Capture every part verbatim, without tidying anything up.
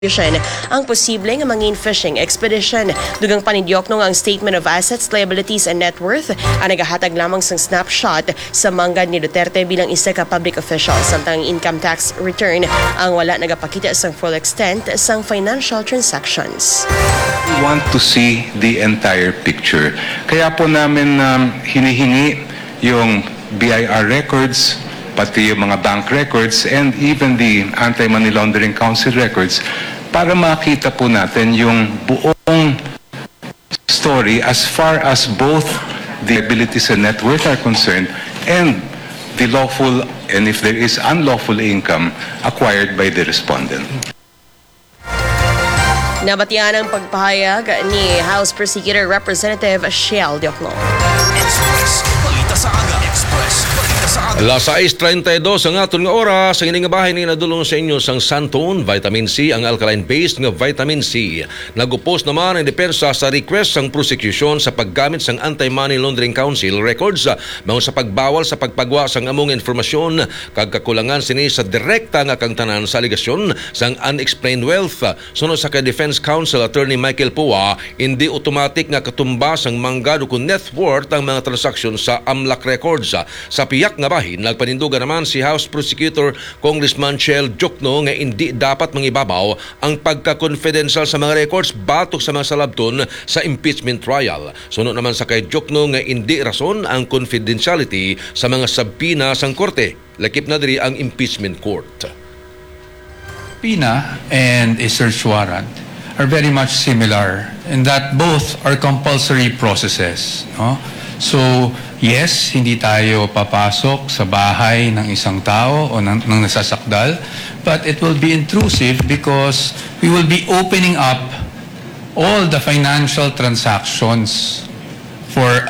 Division ang posible nga mangin fishing expedition. Dugang pa ni Diokno nga ang Statement of Assets, Liabilities, and Net Worth ang nagahatag lamang sang snapshot sa manggad ni Duterte bilang isa ka public official, samtang ang income tax return ang wala nagapakita sang full extent sang financial transactions. We want to see the entire picture. Kaya po namin um, hinihingi yung B I R records, pati yung mga bank records, and even the Anti-Money Laundering Council records para makita po natin yung buong story as far as both the liabilities and net worth are concerned and the lawful and, if there is, unlawful income acquired by the respondent. Nabatian ang pagpahayag ni House Prosecutor Representative Shell Diokno. Express Balita sa Aga. Express Balita sa Aga. Las sais treinta y dos ang aton nga oras. Ang ini nga bahin ni nadulong sa inyo sang Santon, Vitamin C, ang alkaline-based nga vitamin C. Nagupos naman ang depensa sa request sang prosekusyon sa paggamit sang Anti-Money Laundering Council records, ah, mahon sa pagbawal sa pagpagwa sang among informasyon kag kakulangan sini sa direkta nga kaangtanan sa alegasyon sang unexplained wealth. Suno sa kay Defense Counsel Attorney Michael Pua, indi automatic nga katumba sang manggad ukon net worth ang mga transaksyon sa AMLAC records. Sa piyak nga bahin, nagpanindugan naman si House Prosecutor Congressman Shell Diokno nga indi dapat mangibabaw ang pagka-confidential sa mga records batok sa mga salabton sa impeachment trial. Suno naman sa kay Diokno nga indi rason ang confidentiality sa mga subpoena sang korte. Lakip na diri ang impeachment court. Subpoena and a search warrant are very much similar in that both are compulsory processes, no? So, yes, hindi tayo papasok sa bahay ng isang tao o ng, ng nasasakdal, but it will be intrusive because we will be opening up all the financial transactions for,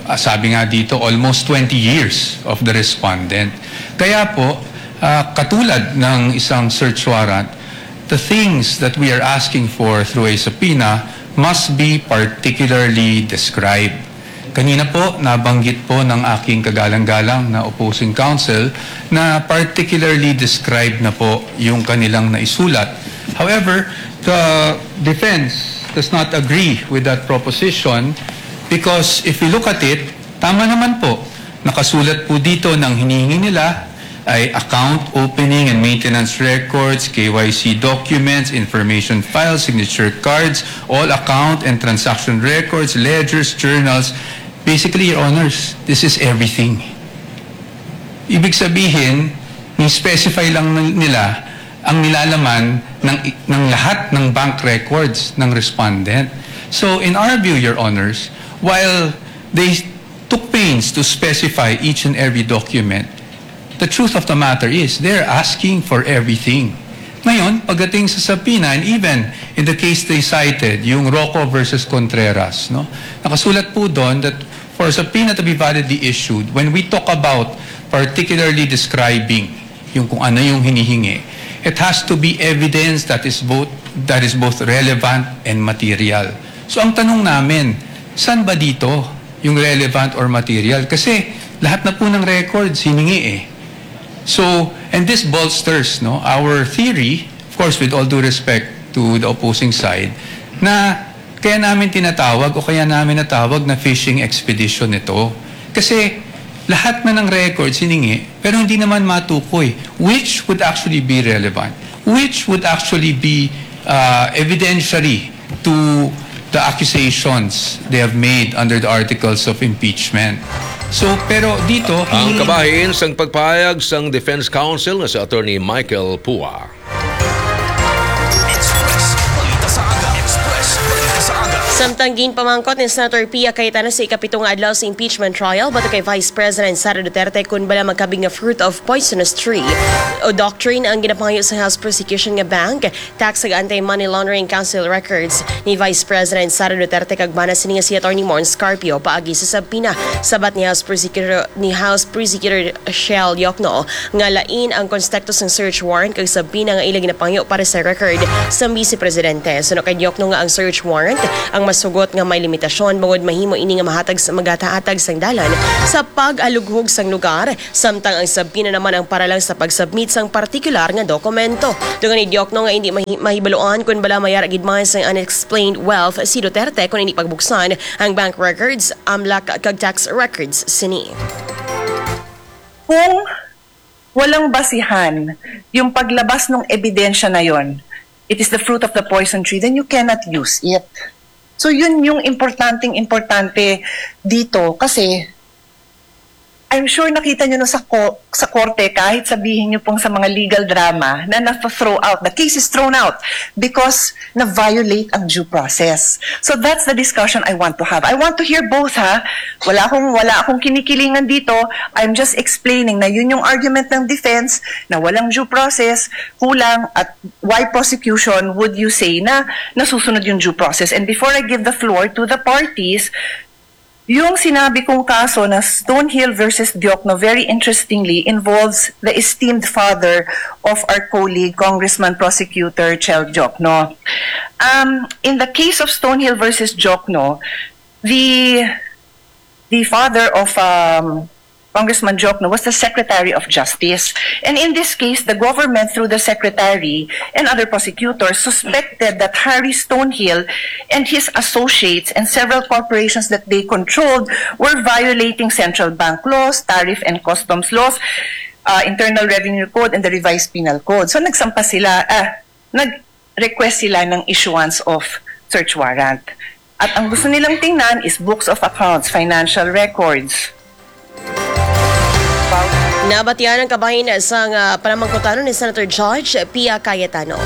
ah, sabi nga dito, almost twenty years of the respondent. Kaya po, ah, katulad ng isang search warrant, the things that we are asking for through a subpoena must be particularly described. Kanina po, nabanggit po ng aking kagalang-galang na opposing counsel na particularly described na po yung kanilang naisulat. However, the defense does not agree with that proposition because if we look at it, tama naman po, nakasulat po dito ng hinihingi nila ay account opening and maintenance records, K Y C documents, information files, signature cards, all account and transaction records, ledgers, journals. Basically, Your Honors, this is everything. Ibig sabihin, ni-specify lang nila ang nilalaman ng, ng lahat ng bank records ng respondent. So, in our view, Your Honors, while they took pains to specify each and every document, the truth of the matter is, they're asking for everything. Ngayon, pagdating sa subpoena, and even in the case they cited, yung Rocco versus Contreras, no? Nakasulat po doon that for a subpoena to be validly issued, when we talk about particularly describing yung kung ano yung hinihingi, it has to be evidence that is both, that is both relevant and material. So ang tanong namin, saan ba dito yung relevant or material? Kasi lahat na po ng records hiningi eh. So, and this bolsters, no, our theory, of course, with all due respect to the opposing side, na kaya namin tinatawag o kaya namin natawag na fishing expedition ito. Kasi lahat na ng records hiningi, pero hindi naman matukoy which would actually be relevant, which would actually be uh, evidentiary to the accusations they have made under the articles of impeachment. So, pero dito, Ang hindi kabahin sang pagpahayag sang defense counsel nga si Attorney Michael Pua. Samtang ginpamangkot ni Senator Pia Cayetano sa ikapito nga adlaw sa impeachment trial batok kay Vice President Sara Duterte kun bala magkabig nga fruit of poisonous tree o doctrine ang ginapangayo sa House prosecution nga bank, tax kag anti-money laundering council records ni Vice President Sara Duterte kag bana sini nga si Attorney Mons Carpio paagi sa subpoena. Sabat ni House Prosecutor, ni House Prosecutor Shell Diokno nga lain ang konstekto sang search warrant kag subpoena nga ila ginapangyo para sa record sa Vice Presidente. Suno kay Diokno nga ang search warrant ang masugot nga may limitasyon, bangod mahimo ini nga mahatag sa, maghatag sang dalan sa pag-alughog sang lugar, samtang ang subpoena naman ang para lang sa pag-submit sang partikular nga dokumento. Dugang ni Diokno nga hindi mahi-, mahibaluan kon bala may ara gid man sang unexplained wealth si Duterte kon hindi pagbuksan ang bank records, amlak kag tax records sini. Kung walang basihan yung paglabas ng ebidensya na yon, it is the fruit of the poison tree, then you cannot use it. So yun yung importanteng importante dito kasi I'm sure nakita nyo na sa, ko- sa korte, kahit sabihin nyo pong sa mga legal drama, na na-throw out, the case is thrown out because na-violate ang due process. So that's the discussion I want to have. I want to hear both, ha. Wala akong, wala akong kinikilingan dito. I'm just explaining na yun yung argument ng defense, na walang due process, kulang, at why prosecution would you say na nasusunod yung due process? And before I give the floor to the parties, yung sinabi kong kaso na Stonehill versus Diokno, very interestingly, involves the esteemed father of our colleague, Congressman Prosecutor Chel Diokno. Um, in the case of Stonehill versus Diokno, the the father of um, Congressman Diokno was the Secretary of Justice. And in this case, the government, through the secretary and other prosecutors, suspected that Harry Stonehill and his associates and several corporations that they controlled were violating central bank laws, tariff and customs laws, uh, Internal Revenue Code, and the Revised Penal Code. So nagsampa sila, ah, nag-request sila ng issuance of search warrant. At ang gusto nilang tingnan is books of accounts, financial records. Nabatian ang kabahin sang, ah, panamangkutanon ni Senator Judge Pia Cayetano.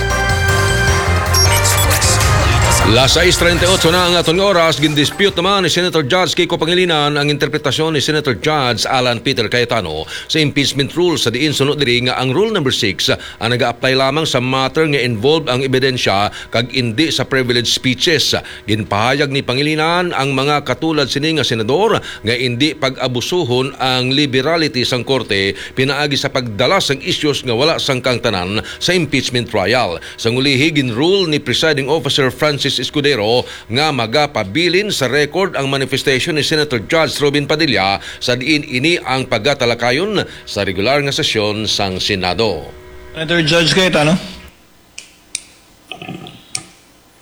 Las sais treinta y ocho na ang aton nga oras, gindispute naman ni Senator Judge Kiko Pangilinan ang interpretasyon ni Senator Judge Alan Peter Cayetano sa impeachment rule, sa diin suno diri nga ang Rule Number six ang naga-apply lamang sa matter nga involved ang ebidensya kag indi sa privilege speeches. Ginpahayag ni Pangilinan ang mga katulad sini nga senador nga indi pag-abusuhon ang liberality sang korte pinaagi sa pagdala sang issues nga wala sang kaangtanan sa impeachment trial. Sang ulihi, ginrule ni Presiding Officer Francis Escudero nga magapabilin sa record ang manifestation ni Senator Judge Robin Padilla sa diin ini ang pagatalakayon sa regular nga sesyon sang Senado. Senator Judge Cayetano.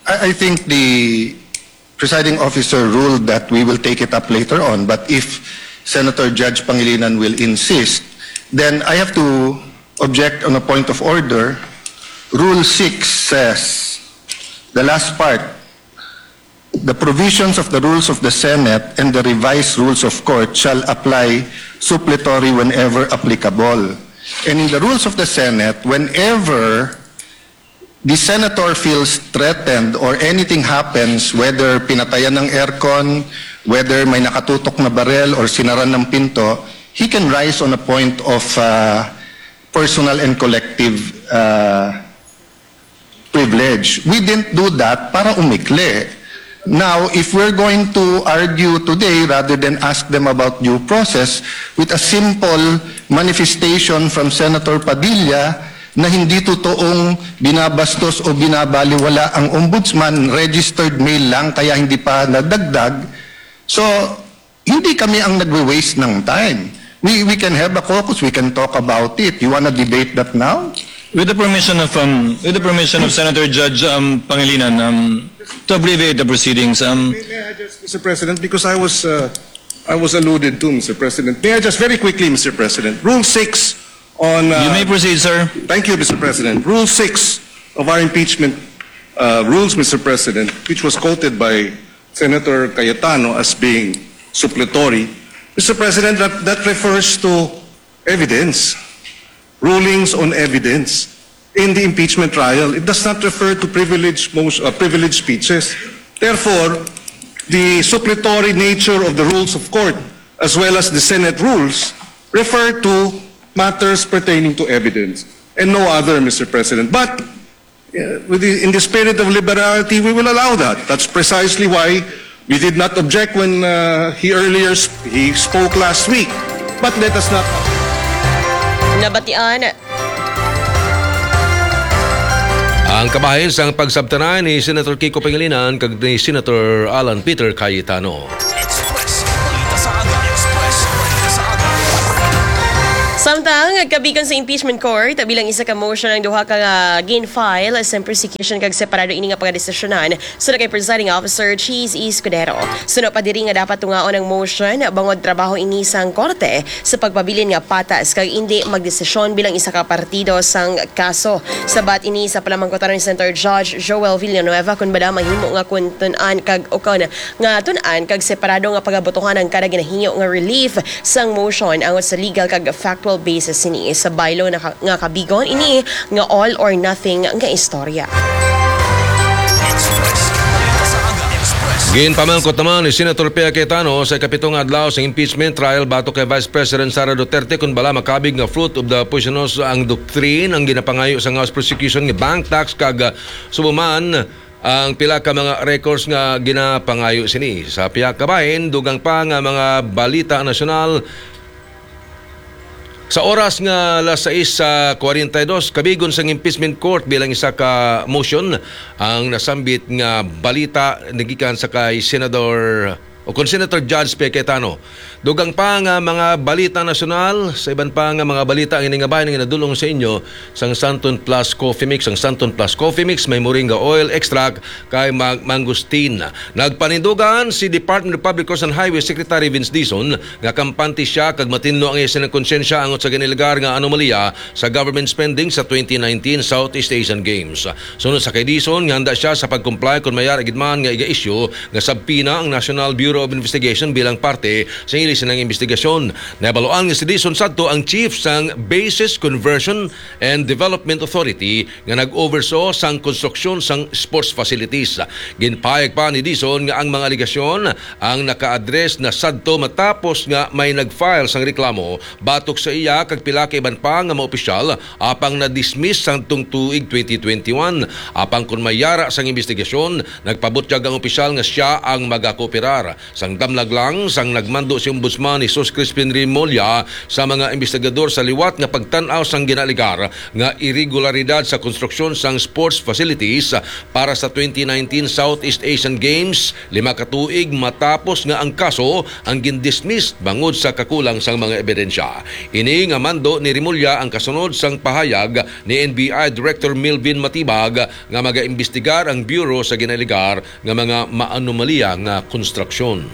I, I think the presiding officer ruled that we will take it up later on, but if Senator Judge Pangilinan will insist, then I have to object on a point of order. Rule six says, the last part, the provisions of the rules of the Senate and the revised rules of court shall apply suppletory whenever applicable. And in the rules of the Senate, whenever the senator feels threatened or anything happens, whether pinatayan ng aircon, whether may nakatutok na barel or sinaran ng pinto, he can rise on a point of uh, personal and collective uh, privilege. We didn't do that para umikli. Now, if we're going to argue today rather than ask them about due process, with a simple manifestation from Senator Padilla na hindi totoong binabastos o binabaliwala ang ombudsman, registered mail lang kaya hindi pa nadagdag. So, hindi kami ang nagwe-waste ng time. We, we can have a caucus, we can talk about it. You wanna debate that now? With the permission of um, with the permission of Senator Judge um, Pangilinan, um, to abbreviate the proceedings, um, May I just, Mister President, because I was uh, I was alluded to, Mister President. May I just very quickly, Mister President, Rule six on. Uh, you may proceed, sir. Thank you, Mister President. Rule six of our impeachment uh, rules, Mister President, which was quoted by Senator Cayetano as being suppletory, Mister President, that, that refers to evidence, rulings on evidence in the impeachment trial. It does not refer to privilege, most, uh, privilege speeches. Therefore, the suppletory nature of the rules of court as well as the Senate rules refer to matters pertaining to evidence and no other, Mister President. But uh, with the, in the spirit of liberality, we will allow that. That's precisely why we did not object when uh, he earlier sp- he spoke last week. But let us not. Nabatian Ang kabahin sang pagsabtanay ni Senator Kiko Pangilinan kag ni Senator Alan Peter Cayetano. Express Balita sa Aga. Express Balita sa Aga. Samtang kabigon sa impeachment court, bilang isa ka motion ang duha ka, ah, gin-file sa prosecution kag separado ini nga pagdesisyonan, suno kay Presiding Officer Cheese Escudero. Suno pa diri nga dapat tungaon ang motion, bangod trabaho ini sang korte sa pagpabilin nga patas kag indi magdesisyon bilang isa ka partido sang kaso. Sabat ini sa palamangkutan ni Senator Judge Joel Villanueva, kun bala mahimo nga kun tun-an kag, o kun nga tun-an kag separado nga pagabutuhan ang kada ginahingyo nga relief sang motion angot sa legal kag factual basis sini. Sa baylo na ka-, nga kabigon ini nga all or nothing nga istorya. Ginpamangkot naman ni Senator Pia Cayetano sa ikapito nga adlaw sa impeachment trial batok kay Vice President Sara Duterte kun bala makabig nga fruit of the poisonous ang doctrine ang ginapangayo sa House prosecution nga bank tax kag, ah, subo man ang pila ka mga records nga ginapangayo sini. Sa pihak kabahin, dugang pa nga mga balita nasyonal, sa oras nga alas sais sa kwarenta y dos, kabigon sang impeachment court bilang isa ka motion ang nasambit nga balita nagikan sa kay Senador o kon Senator Judge Pia Cayetano. Dugang pa nga mga balita nasyonal, sa iban pa nga mga balita ang ini nga bahin nga nadulong sa inyo sang Santon Plus Coffee Mix. Ang Santon Plus Coffee Mix may moringa oil extract kay mag-, mangosteen. Nagpanindugan si Department of Public Works and Highways Secretary Vince Dizon nga kampante siya kag matinlo ang iya sining konsyensya angot sa ginalegar nga anomalya sa government spending sa twenty nineteen Southeast Asian Games. Sunod sa kay Dizon nga handa siya sa pag-comply kon may ara gid man nga iga-issue nga subpoena ang National Bureau of Investigation bilang parte sa ila sining investigasyon. Nabaluan nga si Dizon sadto ang chief sang Bases Conversion and Development Authority nga nag-oversaw sang konstruksyon sang sports facilities. Ginpahayag pa ni Dizon nga ang mga alegasyon ang naka-address na sadto matapos nga may nag-file sang reklamo batok sa iya kag pila ka iban pa nga mga opisyal, apang na-dismiss sang tung tuig twenty twenty-one. Apang kon may ara sang imbestigasyon, nagpabutyag ang opisyal nga sia ang magakooperar. Sang damlag lang, sang nagmando si Ombudsman Jesus Crispin Remulla sa mga imbestigador sa liwat nga pagtan-aw sang ginaalegar nga iregularidad sa konstruksyon sang sports facilities para sa twenty nineteen Southeast Asian Games, lima ka tuig matapos nga ang kaso ang gindismiss bangod sa kakulang sang mga ebidensya. Ini nga mando ni Remulla ang kasunod sang pahayag ni N B I Director Melvin Matibag nga magaimbestigar ang Bureau sa ginaalegar nga mga maanomalya nga konstruksyon.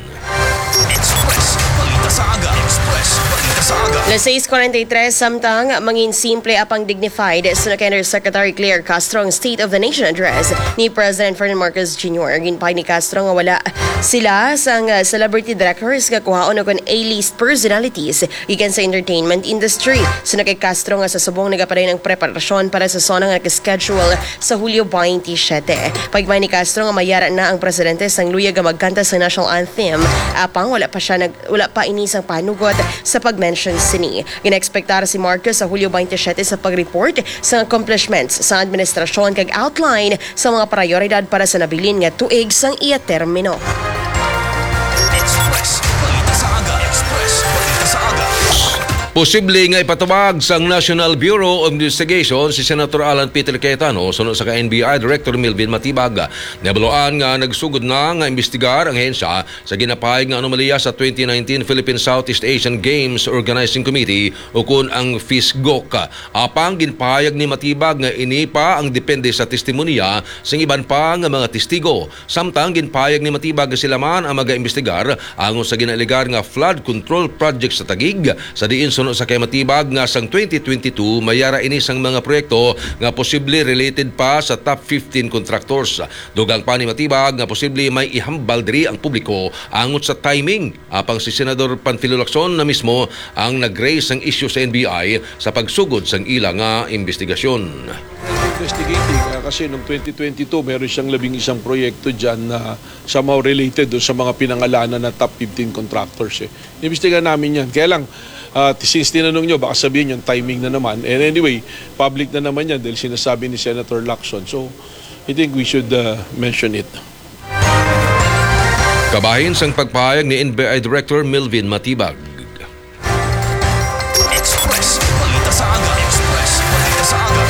Express Balita sa Aga. Express Balita sa Aga. Las sais kwarenta y tres, samtang mangin simple apang dignified, suno kay Undersecretary Claire Castro ang State of the Nation Address ni President Ferdinand Marcos Junior. Ginpahayag ni Castro nga wala sila sang, uh, celebrity directors nga kuhaon o kon A-list personalities gikan sa entertainment industry. Suno kay Castro nga sa subong nagapadayon ang preparasyon para sa SONA nga naka-schedule sa Hulyo twenty-seven. Pagmay ni Castro nga mayara na ang presidente sang luyag nga magkanta sa national anthem, apang wala pa siya nag-, wala pa ini sang panugot sa pag-mention sini. Ginaekspektar si Marcos sa Hulyo twenty-seven sa pag-report sa accomplishments sa administrasyon kag outline sa mga prioridad para sa nabilin nga tuig sang iya termino. Express Balita sa Aga. Express Balita sa Aga. Posible nga ipatubag sang National Bureau of Investigation si Senator Alan Peter Cayetano suno sa ka N B I Director Melvin Matibag. Nabaluan nga nagsugod na nga imbestigar ang ahensya sa ginapahayag nga anomalya sa twenty nineteen Philippine Southeast Asian Games Organizing Committee, ukon ang FISGOC. Apang ginpahayag ni Matibag nga ini pa ang depende sa testimonya sang iban pa nga mga testigo. Samtang ginpahayag ni Matibag nga sila man ang magaimbestigar angon sa ginaalegar nga flood control project sa Taguig, sa diin suno sa kay Matibag nga sang twenty twenty-two mayara ini sang mga proyekto nga posible related pa sa top fifteen contractors. Dugang pa ni Matibag nga posible may ihambal diri ang publiko angot sa timing, apang si Senador Panfilo Lacson na mismo ang nag-raise sang issue sa N B I sa pagsugod sang ila nga imbestigasyon. Investigating, ah, kasi noong twenty twenty-two, meron siyang labing isang proyekto dyan na somehow related doon sa mga pinangalanan na top fifteen contractors, eh. Inimbestigahan namin yan. Kaya lang, ah, since tinanong nyo, baka sabihin yung timing na naman. And anyway, public na naman yan dahil sinasabi ni Senator Lacson. So, I think we should, uh, mention it. Kabahin sang pagpahayag ni N B I Director Melvin Matibag. Express Balita sa Aga. Express Balita sa Aga.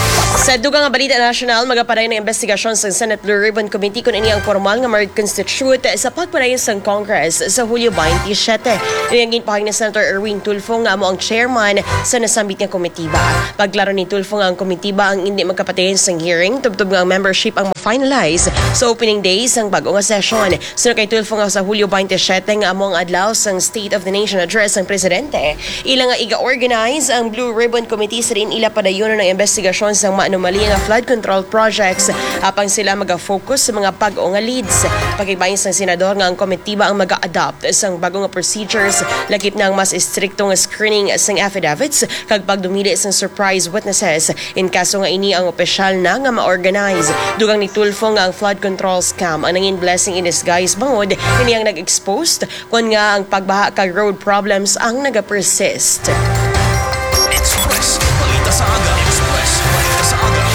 Sa dugang nga balita nasyonal, magapadayon ang investigasyon sa Senate Blue Ribbon Committee kon ini ang formal nga mag-constitute sa pagpadayon sang Congress sa Hulyo twenty-seven. Ini ang ginpahayag ni Senator Erwin Tulfo nga amo ang chairman sa nasambit nga komitiba. Pagklaro ni Tulfo nga ang komitiba ang indi magkapadayon sang hearing tubtob nga ang membership ang ma-finalize sa opening day sang bag-o nga sesyon. Suno kay Tulfo nga sa Hulyo twenty-seven nga amo ang adlaw sang State of the Nation Address sang Presidente, ila nga iga-organize ang Blue Ribbon Committee sa diin ila padayonon ang investigasyon sang maanomalya nga flood control projects, apang sila maga-focus sa mga bag-o nga leads. Pakigbahin sang senador nga ang komitiba ang maga-adopt sang bag-o nga procedures, lakip na ang mas estrikto nga screening sang affidavits kag pagdumili sang surprise witnesses in kaso nga ini ang opisyal na nga ma-organize. Dugang ni Tulfo nga ang flood control scam ang nangin blessing in disguise bangod ini ang nag-expose kon nga ang pagbaha kag road problems ang nagapersist. Express Balita sa Aga. Express Balita sa Aga.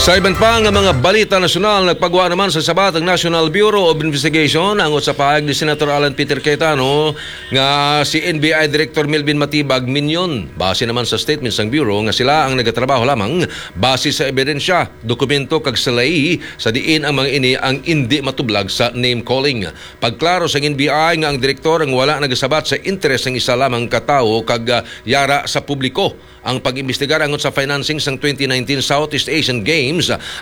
Sa iban pa nga mga balita nasyonal, nagpagwa naman sa sabat ang National Bureau of Investigation angot sa pahayag ni Senator Alan Peter Cayetano nga si N B I Director Melvin Matibag minyon. Base naman sa statement sang Bureau nga sila ang nagatrabaho lamang base sa ebidensya, dokumento kag salay sa diin ang mga ini ang indi matublag sa name calling. Pagklaro sang N B I nga ang direktor ang wala nagasabat sa interes sang isa lamang ka tawo kag, ah, yara sa publiko. Ang pag-imbestigar angot sa financing sang twenty nineteen Southeast Asian Games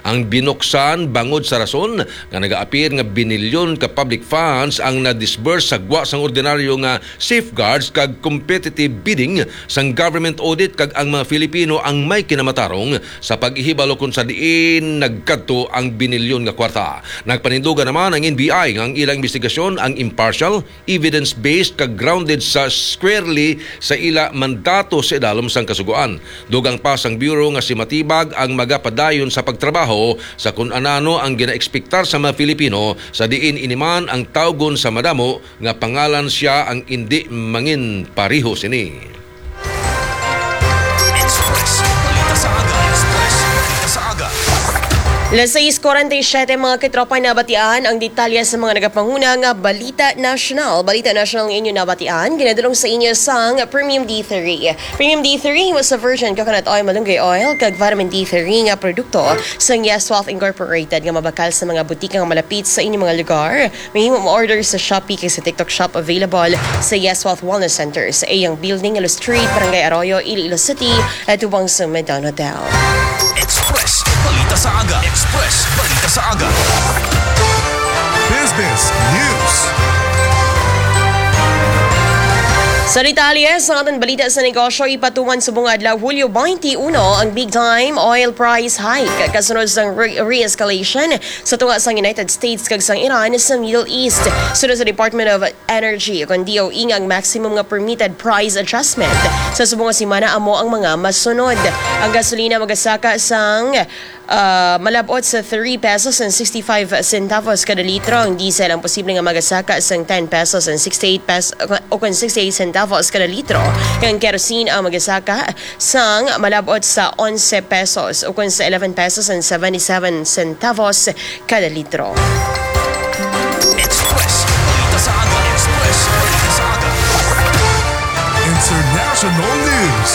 ang binuksan bangod sa rason nga nagaapir nga binilyon ka public funds ang na-disburse sa gwa sang ordinaryo nga safeguards kag competitive bidding sang government audit kag ang mga Filipino ang may kinamatarong sa paghibalo kon sa diin nagkadto ang binilyon nga kwarta. Nagpanindugan naman ang N B I nga ang ilang investigasyon ang impartial, evidence-based kag grounded sa squarely sa ila mandato sa idalom sang Kasugoan. Dugang pa sang Bureau nga si Matibag ang magapadayon sa pagtrabaho sa kun anano ang ginaekspektar sa mga Filipino sa diin ini man ang tawgon sa madamo nga pangalan sia ang indi manginpareho sini. Express Balita sa Aga. Express Balita sa Aga. Las sais cuarenta y siete, mga katropa, nabatian ang detalye sa mga nagapanguna nga balita nasyonal. Balita nasyonal nga inyo nabatian, ginadulong sa inyo sang Premium D three. Premium D three, himo sa virgin coconut oil, malunggay oil, kag vitamin D three nga produkto sang Yes Wealth Incorporated nga mabakal sa mga butika nga malapit sa inyong mga lugar. Mahimo mo-order sa Shopee kag sa TikTok Shop, available sa Yes Wealth Wellness Center sa iyang building, Ilo Street, Barangay Arroyo, Iloilo City, at tubang sa Medon Hotel. Express Balita sa Aga. Express Balita sa Aga. Business News. Sa detalye sa aton balita sa negosyo, ipatuman subong adlaw, Hulyo twenty-one, ang big time oil price hike kasunod sang re-, re-escalation sa tunga sang United States kag sang Iran sa Middle East. Sunod sa Department of Energy, kon D O E, nga ang maximum nga permitted price adjustment sa subong nga semana amo ang mga masunod. Ang gasolina magasaka sang, ah, malab-ot sa three pesos and sixty-five centavos kada litro. Ang diesel ang posible nga magasaka sang ten pesos and sixty-eight pes-, o kon sixty-eight centavos kada litro. Ang kerosene ang magasaka sang malab-ot sa onse pesos o kon sa eleven pesos and seventy-seven centavos kada litro. Express Balita sa Aga. Express Balita sa Aga. International News.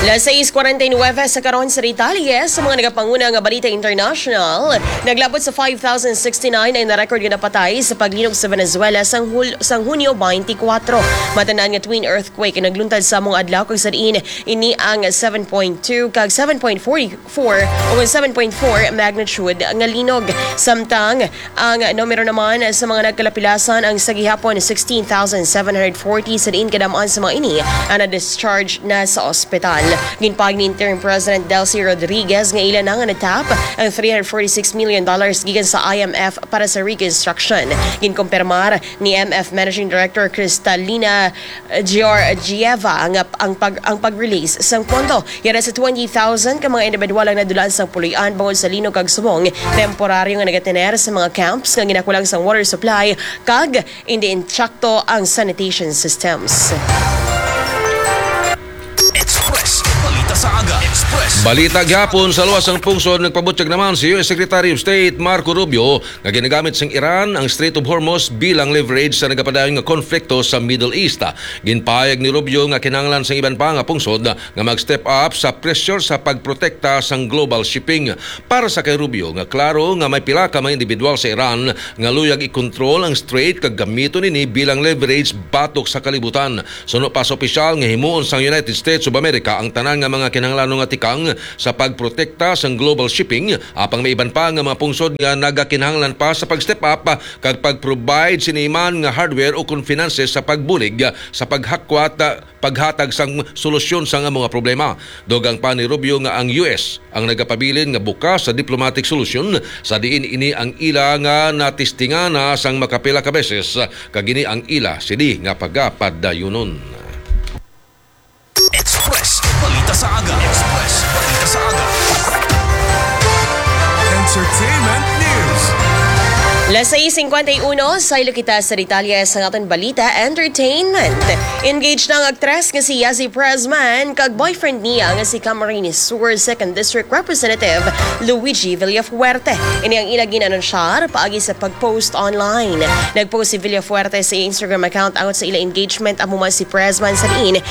Las sais cuarenta y nueve sa karon sa detalye sa mga nagapanguna nga balita international. Naglabot sa five thousand sixty-nine ang na-record nga napatay sa paglinog sa Venezuela sang Hul-, sang Hunyo twenty-four. Matan-an nga twin earthquake ang nagluntad sa among adlaw, kag sa diin ini ang seven point two kag seven point four four o seven point four magnitude nga linog. Samtang ang numero naman sa mga nagkalapilasan ang sa gihapon sixteen thousand seven hundred forty, sa diin kadam-an sa mga ini ang na-discharge na sa ospital. Ginpahayag ni Interim President Delcy Rodriguez nga ila na nga natap ang three hundred forty-six million dollars gikan sa I M F para sa reconstruction. Ginkumpirmar ni M F Managing Director Cristalina Georgieva nga ang pag-, ang pag-release sang pondo. Yara sa twenty thousand ka mga individual ang nadulaan sang puloy-an bangod sa linog kag subong, temporaryo nga nagatener sa mga camps nga ginakulang sang water supply kag indi intakto ang sanitation systems. Express Balita sa Aga. Express Balita gyapon sa luwas sang pungsod, nagpabutyag naman si U S Secretary of State Marco Rubio nga ginagamit sang Iran ang Strait of Hormuz bilang leverage sa nagapadayon nga konflikto sa Middle East. Ginpahayag ni Rubio nga kinahanglan sang iban pa nga pungsod nga mag-step up sa pressure sa pagprotekta sang global shipping. Para sa kay Rubio, nga klaro nga may pila ka mga individual sa Iran nga luyag ikontrol ang strait kag gamiton ini bilang leverage batok sa kalibutan. Suno pa sa opisyal nga himuon sang United States of America ang tanan nga mga kinahanglanon nga tikang sa pagprotekta sang global shipping, apang may iban pa nga mga pungsod nga nagakinahanglan pa sa pag-step up kag pag-provide sini man nga hardware o kon finances sa pagbulig sa paghakwat, paghatag sang solusyon sang mga problema. Dugang pa ni Rubio nga ang U S ang nagapabilin nga bukas sa diplomatic solution, sa diin ini ang ila nga natistingan na sang makapila ka beses, kag ini ang ila sini nga pagapadayunon. Express Balita sa Aga. Express Balita sa Aga. Entertainment News. Las sais cincuenta y uno, saylo kita sa detalye sa aton balita, entertainment. Engaged na ang aktres nga si Yazzie Pressman kag boyfriend niya nga si Camarines Sur Second District Representative Luigi Villafuerte. Ini ang ila gin-anunsyar paagi sa pag-post online. Nag-post si Villafuerte sa Instagram account about sa ila engagement, amo man si Pressman sa diin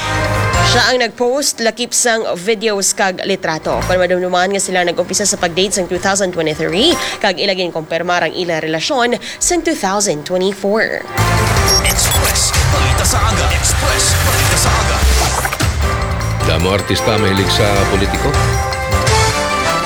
siya ang nag-post lakip sang videos kag litrato. Kon madumduman nga sila nag-umpisa sa pag-date sang two thousand twenty-three, kag ila ginkumpirmar ang ila relasyon sang two thousand twenty-four. Express Balita sa Aga. Express Balita sa Aga. Damo artista mahilig sa politiko.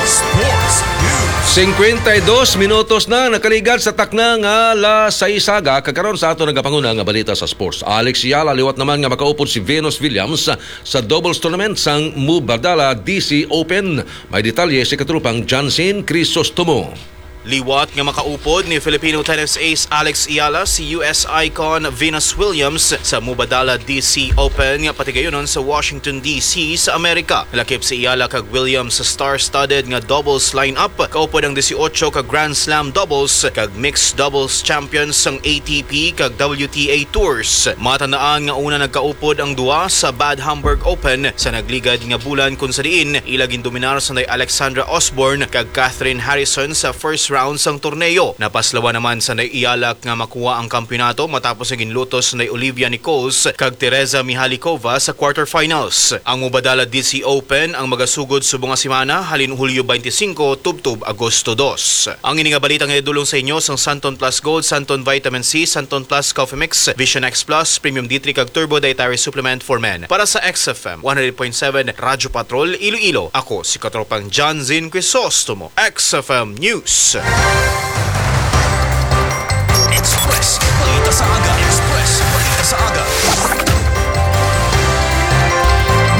Sports News. Singkwenta y dos minutos na nakaligad sa takna nga alas sais sa aga, kag karon sa ato nagapanguna nga balita sa sports. Alex Yala, liwat naman nga makaupod si Venus Williams sa doubles tournament sang Mubadala D C Open. May detalye si katropang Jansen Crisostomo. Liwat nga makaupod ni Filipino tennis ace Alex Eala si U S icon Venus Williams sa Mubadala D C Open nga patigayunon sa Washington D C sa Amerika. Lakip si Eala kag Williams sa star-studded nga doubles lineup. Kaupod ang dieciocho ka Grand Slam doubles kag mixed doubles champions sang A T P kag W T A tours. Matandaan nga una nagkaupod ang duha sa Bad Hamburg Open sa nagligad nga bulan, kun sa diin ila gindominar sanday Alexandra Osborne kag Catherine Harrison sa first round sang torneo. Napaslawan naman sanday Eala nga makuha ang kampiyonato matapos nga ginlutos sanday Olivia Nichols kag Teresa Mihalikova sa quarterfinals. Ang Mubadala D C Open ang magasugod subong nga semana, halin Hulyo twenty-five tubtob Agosto dos. Ang ini nga balita nga idulong sa inyo sang Santon Plus Gold, Santon Vitamin C, Santon Plus Coffee Mix, Vision X Plus, Premium D three kag Turbo Dietary Supplement for Men. Para sa X F M one hundred point seven Radyo Patrol, Iloilo, ako si Katropang John Zin Crisostomo, X F M News. Express Balita sa Aga. Express Balita sa Aga.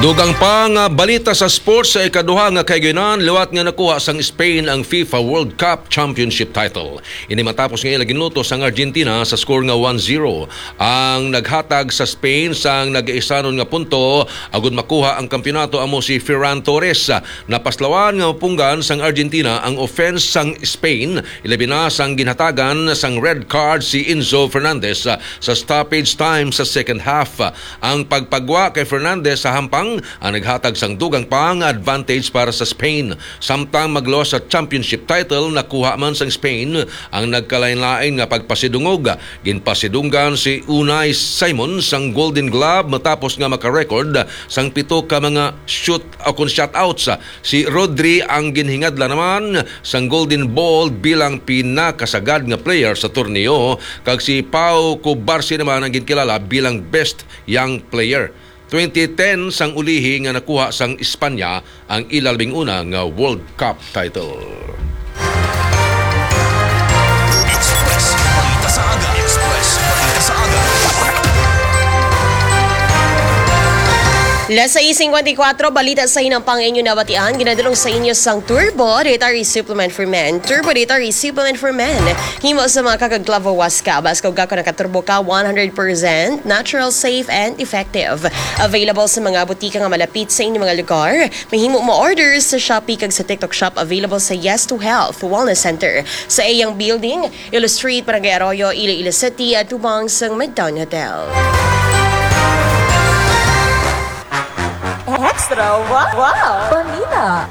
Dugang pa nga balita sa sports, sa ikaduha nga kahigayunan, liwat nga nakuha sang Spain ang FIFA World Cup Championship title. Ini matapos nga ila ginlutos ang Argentina sa score nga one zero. Ang naghatag sa Spain sang nagaisanon nga punto agud makuha ang kampiyonato amo si Ferran Torres. Napaslawan nga mapunggan sang Argentina ang offense sang Spain, ilabi na sang ginhatagan sang red card si Enzo Fernandez sa stoppage time sa second half. Ang pagpagwa kay Fernandez sa hampang ang naghatag sang dugang pa nga advantage para sa Spain. Samtang magluwas sa championship title, nakuha man sang Spain ang nagkalainlain nga pagpasidungog. Ginpasidunggan si Unai Simon sang Golden Glove matapos nga maka-record sang pito ka mga shoot o kon shutouts. Si Rodri ang ginhingadla naman sang Golden Ball bilang pinakasagad nga player sa torneo, kag si Pau Cubarsí naman ang ginkilala bilang best young player. Twenty ten sang ulihi nga nakuha sang Espanya ang ila labing una nga World Cup title. Express Balita sa Aga. Express Balita sa Aga. Las sais cincuenta y cuatro, balita sa hinampang inyo nabatian, ginadulong sa inyo sang Turbo Dietary Supplement for Men. Turbo Dietary Supplement for Men. Himo sa mga kakaglavo waska, bas kag gako nakaturbo ka, one hundred percent natural, safe, and effective. Available sa mga butika nga malapit sa inyong mga lugar. Mahimo mo order sa Shopee kag sa TikTok Shop. Available sa Yes to Health Wellness Center, sa Eyang Building, Ilo Street, Barangay Arroyo, Iloilo City, at tubang sang Midtown Hotel. Oras Trawa. Wow! Balita.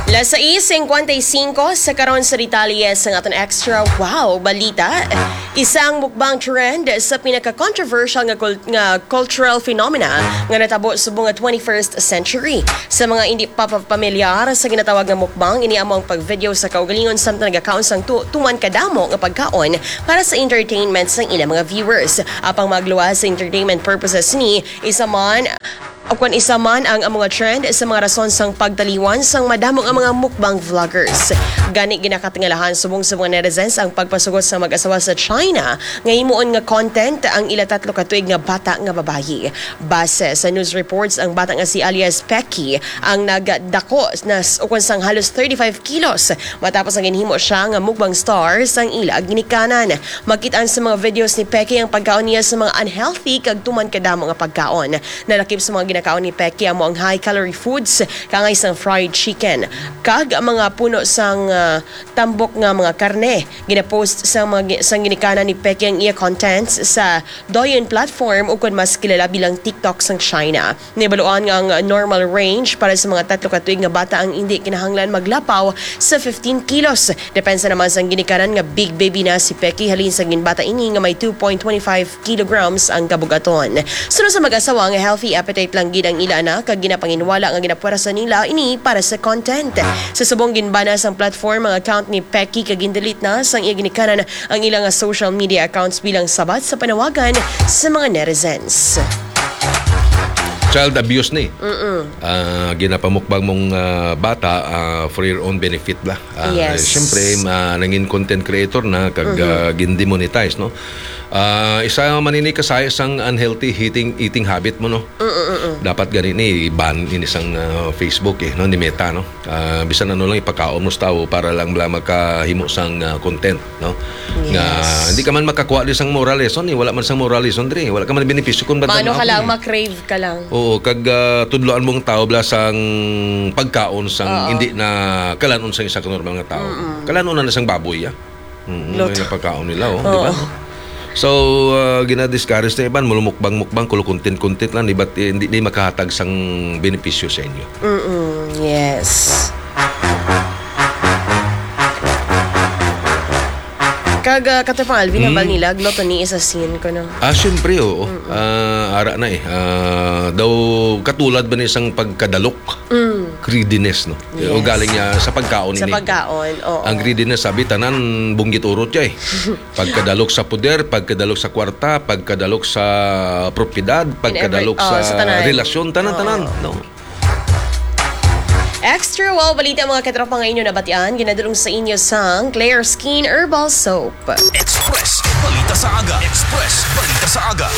Las sais cincuenta y cinco sa karon sa detalye sa aton extra wow balita. Isang mukbang trend sa pinaka-controversial nga cul-, nga cultural phenomena nga natabo subong nga twenty-first century. Sa mga hindi pa pa-, pamilyar sa ginatawag nga mukbang, ini amo ang pag-video sa kaugalingon samtang nagakaon sang tu-, tuman kadamo nga pagkaon para sa entertainment sang ilang mga viewers. Apang magluwas sa entertainment purposes ni, isa man, o kung isa man ang, ang mga trend sa mga rason sang pagtaliwan sang madamo nga mga mukbang vloggers. Gani, ginakatingalahan subong sa mga netizens ang pagpasugot sa mag-asawa sa China nga himuon nga content ang ila tatlo ka tuig nga bata nga babayi. Base sa news reports, ang bata nga si alias Pecky ang nagdako na s-, ukon sang halos thirty-five kilos matapos ang ginhimo siya nga mukbang star sang ila ginikanan. Makit-an sa mga videos ni Pecky ang pagkaon niya sa mga unhealthy kag tuman kadamo nga pagkaon. Nalakip sa mga ginakaon ni Pecky amo ang high-calorie foods, kaangay sang fried chicken, kag ang mga puno sang, ah, tambok nga mga karne. Ginapost sa mga gi-, sang ginikanan ni Pecky ang iya contents sa Douyin platform, ukon mas kilala bilang TikTok sang China. Nahibaluan nga ang normal range para sa mga tatlo ka tuig nga bata ang indi kinahanglan maglapaw sa fifteen kilos. Depensa naman sang ginikanan nga big baby na si Pecky, halin sa ginbata ini nga may two point twenty five kilograms ang kabugaton. Suno sa mag-asawa nga healthy appetite lang gid ang ila anak, kag ginapanginwala nga ginapuwersa nila ini para sa content. Sa subong, ginbana sang platform ang account ni Pecky kag gindelete na sang iya ginikanan ang ila nga social media accounts bilang sabat sa panawagan sa mga netizens. Child abuse ni. Mm-mm. Ah, ginapamukbang mong, ah, bata, ah, for your own benefit ba? Ah, Yes. Siyempre, ma-, nangin content creator na kag, Mm-hmm. ah, gin-demonetize, no? Ah, isa man ini ka sa isang unhealthy eating, eating habit mo, no? Mm-mm-mm. Dapat gani ni i-ban ini sang, ah, Facebook, eh, no, ni Meta, no? Ah, bisan ano lang ipakaon mo sa tawo para lang bala makahimo sang, ah, content, no? Nga Yes. hindi ka man makakuha di sang moral lesson, eh. Wala man sang moral lesson diri. Wala ka man benepisyo kung ba't Maano ka lang, eh. Ma-crave ka lang. Oo, kag, ah, tudloan mong tao bala sang pagkaon sang Oo. hindi na kalanon sang isa ka normal nga tao. Mm-mm. Kalanon na na sang baboy, ah. Mm, Luto. May pagkaon nila, oh, di ba? Oo. So, ah, gina-discourage na iban, mulumukbang-mukbang, kulo content-content lang, di ba, eh, hindi, hindi makahatag sang benepisyo sa inyo. Mm-mm, yes. Kag, ah, Katropang Alvin, Mm. nabal nila, gluttony is a sin, kuno. Ah, syempre, oo. Mm-mm. Ah, ara na eh. Ah, daw katulad ba ni isang pagkadalok? Mm. Greediness, no? Yes. O galing niya sa pagkaon Sa ini. pagkaon, oo. Ang greediness, sabi, tanan bunggit urot siya eh. Pagkadalok sa poder, pagkadalok sa kwarta, pagkadalok sa propiedad, In every-, pagkadalok oh, sa sa tanan. relasyon, tanan, Oo. tanan, no? Extra wow balita, mga katropa, nga inyo nabatian, ginadulong sa inyo sang Claire Skin Herbal Soap. Express Balita sa Aga. Express Balita sa Aga.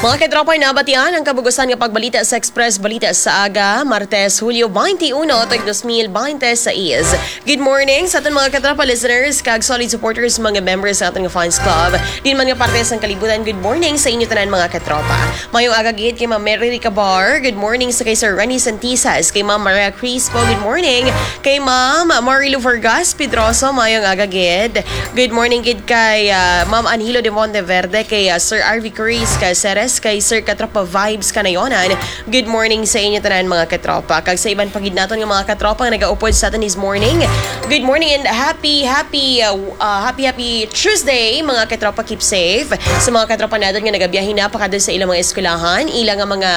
Mga katropa, nabatian ang kabug-usan nga pagbalita sa Express Balita sa Aga, Martes, Hulyo twenty-one, tuig dos mil binte seis. Good morning sa aton mga katropa listeners kag solid supporters, mga members sa aton nga fans club. Din man nga parte sang kalibutan, good morning sa inyo tanan, mga katropa. Mayong aga gid kay Ma'am Mary Ricabar. Good morning sa kay Sir Renny Santisas, kay Ma'am Maria Crispo. Good morning kay Ma'am Marilu Vargas Pedroso. Mayong aga gid. Good morning gid kay, ah, Ma'am Anhilo de Monteverde, kay, ah, Sir R V Cruz Caceres, kay Sir Katropa Vibes Kanayonan. Good morning sa inyo tanan, mga katropa. Kag sa iban pa gid naton nga mga katropa nga nagaupod sa aton this morning, good morning and happy, happy, uh, uh, happy, happy Tuesday, mga katropa. Keep safe. Sa mga katropa naton nga nagabiyahe na pakadto sa ilang mga eskwelahan, ilang nga mga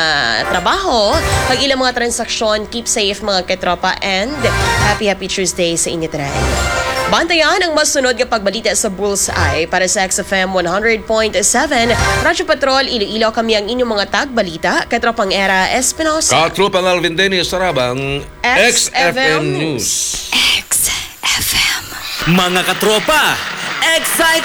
trabaho, kag ilang mga transaksyon, keep safe, mga katropa, and happy, happy Tuesday sa inyo tanan. Bantayan ang masunod nga pagbalita sa Bullseye para sa X F M one hundred point seven Radyo Patrol Iloilo. Kami ang inyong mga tagbalita, Katropang Era Espinosa. Katropang Alvin Dennis Sarabang, X F M News. X F M. Mga katropa, excite